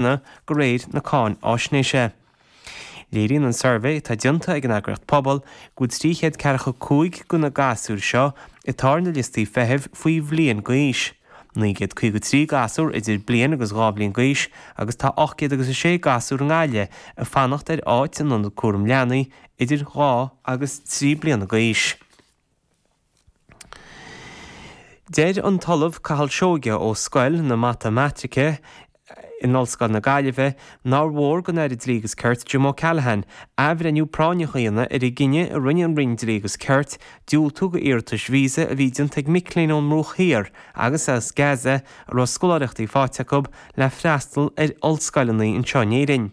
De réir na cáinfháisnéise. Léiríonn an suirbhé atá déanta ag an eagraíocht Pobal go bhfuil 345 de na gasúir seo atá ar na liostaí feithimh faoi bhliain d'aois, 953 gasúr idir bliain agus 2 bhliain d'aois agus tá 806 gasúr i nGaillimh ag fanacht ar áit in ionad cúram leanaí idir 2 agus 3 bliana d'aois. Deir an tOllamh Cathal Seoige ó Scoil na Matamaitice in Ollscoil na Gaillimhe nár mhór don Aire Dlí agus Cirt Jim O'Callaghan athbhreithniú práinneach a dhéanamh ar an gcinneadh a rinne an Roinn Dlí agus Cirt diúltú do iarratais víosa a bhí déanta ag mic léinn ón mBruach Thiar agus as Gaza a raibh scoláireachtaí faighte acu le freastal ar ollscoileanna anseo in Éirinn.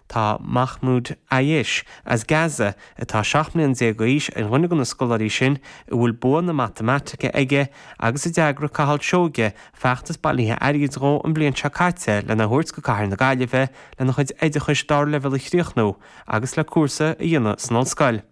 Tá Mahmoud Ayesh as Gaza atá 17 mbliana d'aois, ar dhuine de na scoláirí sin a bhfuil bua na matamaitice aige agus a d'eagraigh Cathal Seoige feachtas bailithe airgid dhó an bhliain seo caite lena thabhairt go cathair na Gaillimhe lena chuid oideachais dara leibhéal a chríochnú agus le cúrsa a dhéanamh san ollscoil.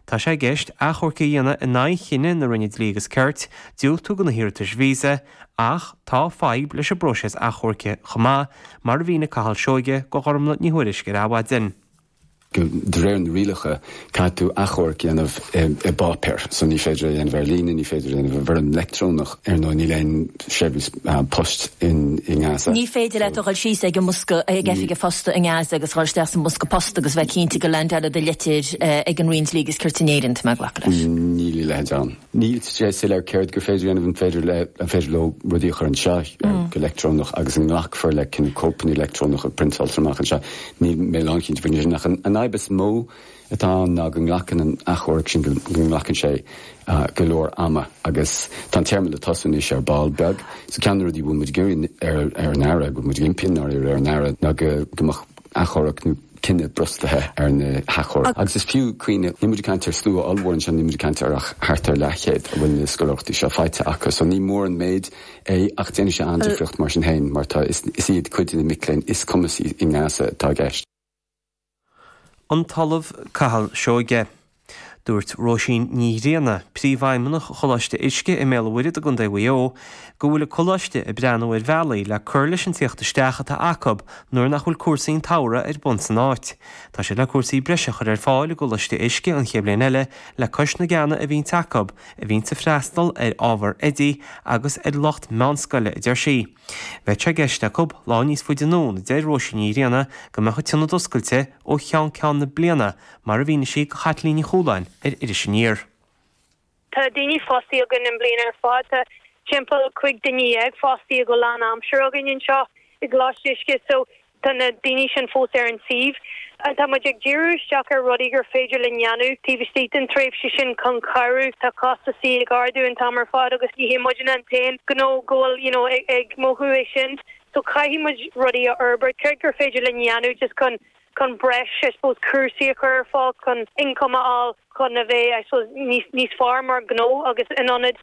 Tá sé i gceist achomharc a dhéanamh in aghaidh chinneadh na Roinne Dlí agus Cirt diúltú do na hiarratais víosa ach tá fadhb leis an bpróiseas achomhairc chomh maith, mar a mhínigh Cathal Seoige do Ghormlaith Ní Thuairisg ar Adhmhaidin. De réir na rialacha, caithfidh tú achomharc a dhéanamh i bpáipéar, so ní féidir é a dhéanamh ar líne, ní féidir é a dhéanamh i bhfoirm leictreonach, ar ndóigh níl aon seirbhís poist i nGaza. Ní féidir leat a dhul síos ag an mbosca, ag oifig an phosta i nGaza agus dhul isteach sa mbosca post agus bheith cinnte go leaindeálfaidh do litir ag an Roinn Dlí agus Cirt in Éirinn, tá mé ag glacadh leis. Níl a leithéid ann. Níl sé soiléir céard gur féidir a dhéanamh, an féidir le, an féidir leo rudaí a chur anseo go leictreonach agus an nglacfar le cineál cóipeanna leictreonacha a priontáiltear amach anseo. Níl mé lánchinnte faoin sin ach an fhadhb is mó atá ann ná go nglacann an achomharc sin, go nglacann sé go leor ama agus tá an téarma le tosú anois ar ball beag. So ceann de na rudaí a bhfuil muid ag iarraidh ar an Aire, go bhfuil muid ag impí i ndáiríre ar an Aire ná go mbeadh achomharc nó cinneadh brostaithe ar na hachomhairc. Agus is fiú cuimhneamh, níl muid ag caint ar slua ollmhór anseo, níl muid ag caint ar ach thart ar leathchéad a bhfuil na scoláireachtaí seo faighte acu. So ní mór an méid é ach déanfaidh sé an-difríocht mar sin féin mar tá, is iad cuid de na mic léinn is cumasaí i nGaza atá i gceist. An tOllamh Cathal Seoige. Dúirt Róisín Ní Ghrianna, Príomhfheidhmeannach Choláiste Uisce i mBéal an Mhuirthead i gContae Mhaigh Eo, go bhfuil an coláiste ag breathnú ar bhealaí le cur leis an tíocht isteach atá acu nuair nach bhfuil cúrsaí an tsamhraidh ar bun san áit. Tá siad le cúrsaí breise a chur ar fáil i gColáiste Uisce an chéad bhliain eile le cois na gceanna a bhíonns acu, a bhíonns ag freastal ar ábhar oidí agus ar lucht meánscoile, a deir sí. Bheadh sé i gceist acu lá níos faide anonn, a deir Róisín Ní Ghrianna, go mbeadh an t-ionad oscailte ó cheann ceann na bliana Mar a mhínigh sí do Chaitlín Ní Chualáin ar Iris Aniar. Tá daoine fostaithe againn an bliain ar fad. Tá timpeall 15 duine fostaithe go lán aimsire againn anseo i gColáiste Uisce so tá na daoine sin fós ar an suíomh. Tá muid ag díriú isteach ar rudaí gur féidir linn dhéanamh taobh istigh den tréimhse sin chun cabhrú. Tá costasaí ag ardú an t-am ar fad agus ní hé muidne an t-aon ghnó go bhfuil you know ag mothú é sin so caithfidh muid rudaí a fhorbairt. Céard gur féidir linn dhéanamh just chun chun breis, I suppose, cúrsaí a chur ar fáil, chun ioncam a fháil, chun a bheith, I suppose, níos, níos fearr mar ghnó agus in ionad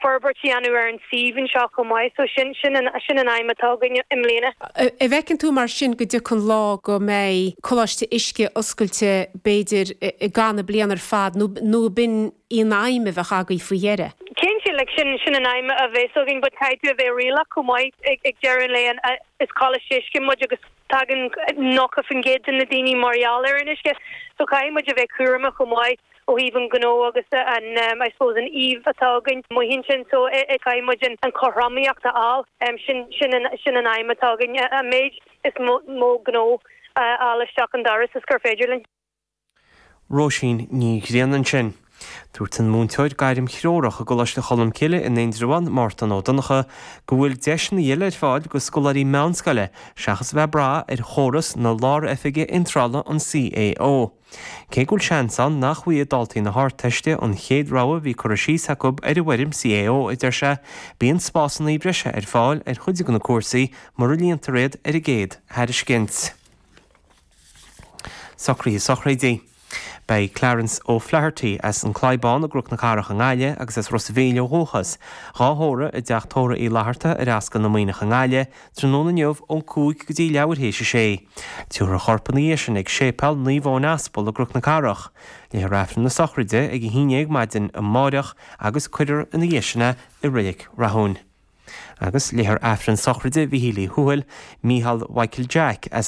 forbairt a dhéanamh ar an suíomh anseo chomh maith. So sin, sin an, sin an aidhm atá againn i mbliana. An bhfeiceann tú mar sin go dtiocfaidh an lá go mbeidh Coláiste Uisce oscailte b'fhéidir i gcaitheamh na bliana ar fad nó, nó ab in í an aidhm a bheadh agaibh faoi dheireadh? Cinnte, like sin, sin an aidhm a bheas againn but caithfidh tú a bheith réalaíoch chomh maith ag, ag deireadh an lae an, is Coláiste Uisce muid agus Tagann 90% de na daoine mar gheall ar an uisce so caithfidh muid a bheith cúramach chomh maith ó thaobh an ghnó agus an I suppose an iamh atá againn amuigh ansin so caithfidh muid an chothromaíocht a fháil. Sin sin an sin an aidhm atá againn, an méid is mó gnó a fháil isteach an doras is gur féidir linn. Róisín Ní Ghrianna ansin. Dúirt an múinteoir gairmthreorach i gColáiste Cholmcille in Indreabhán, Mártan Ó Donnchadha, go bhfuil deiseanna eile ar fáil do scoláirí meánscoile seachas a bheith ag brath ar chóras na Lár-Oifige Iontrála, an CAO. Cé go bhfuil seans ann nach bhfaighidh daltaí na hArdteiste an chéad rogha a bhí curtha síos acu ar an bhfoirm CAO, a deir sé, bíonn spásanna breise ar fáil ar chuid de na cúrsaí mura líontar iad ar an gcéad thairiscint. Socruithe sochraide. Beidh Clarence O'Flaherty as an Clybán i gCnoc na Cathrach i nGaillimh agus as Ros a' Mhíl ó dhúchas, dhá thórramh i dTeach Tórraimh Uí Fhlatharta ar Ascaill na Muimhneach i nGaillimh tráthnóna inniu ón 5 go dtí leathuair théis a sé. Tabharfar a chorp ina dhiaidh sin ag Séipéal Naomh Eoin Aspal i gCnoc na Cathrach. Léifear Aifreann na sochraide ag a 11 maidin amáireach agus cuirfear ina dhiaidh sin é i Reilig Rathúin. Agus léifear Aifreann sochraide Mhichíl Uí Thuathail, Mícheál Mhichael Jack, as.